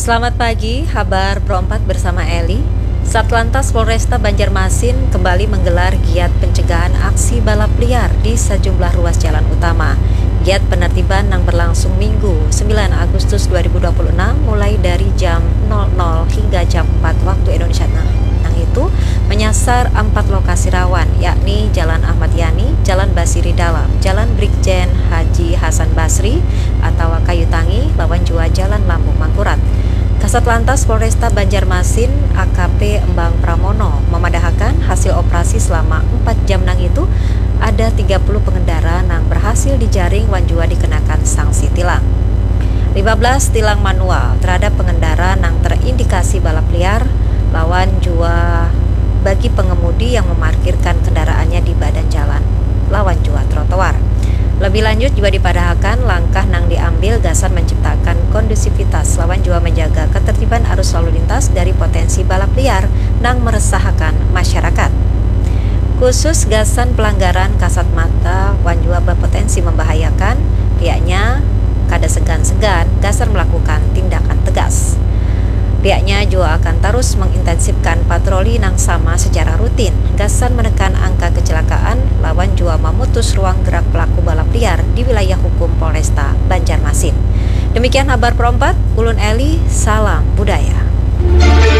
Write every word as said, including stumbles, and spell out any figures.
Selamat pagi, habar Pro empat bersama Eli. Satlantas Polresta Banjarmasin kembali menggelar giat pencegahan aksi balap liar di sejumlah ruas jalan utama. Giat penertiban nang berlangsung Minggu, sembilan Agustus dua ribu dua puluh enam, mulai dari jam nol nol hingga jam empat waktu Indonesia Tengah. Nang itu menyasar empat lokasi rawan, yakni Jalan Ahmad Yani, Jalan Basiri Dalam, Jalan Brigjen Haji Hasan Basri atau Kayu Tangi, lawan jua Jalan Lambung Mangkurat. Kasat Lantas Polresta Banjarmasin, A K P Embang Pramono, memadahakan hasil operasi selama empat jam nang itu, ada tiga puluh pengendara nang berhasil dijaring wan jua dikenakan sanksi tilang. Lima belas tilang manual terhadap pengendara nang terindikasi balap liar lawan jua bagi pengemudi yang memarkirkan kendaraannya di badan jalan lawan jua trotoar. Lebih lanjut jua dipadahakan langkah nang diambil gasan menciptakan kondusivitas lawan jua menjaga ketertiban arus lalu lintas dari potensi balap liar nang meresahakan masyarakat. Khusus gasan pelanggaran kasat mata wan jua berpotensi membahayakan, pihaknya kada segan-segan gasan melakukan tindakan tegas. Pihaknya jua akan tarus mengintensifkan patroli nang sama secara rutin gasan menekan angka kecelakaan lawan jua memutus ruang gerak pelaku balap liar di wilayah hukum Polresta Banjarmasin. Demikian habar Pro empat, ulun Eli, salam budaya.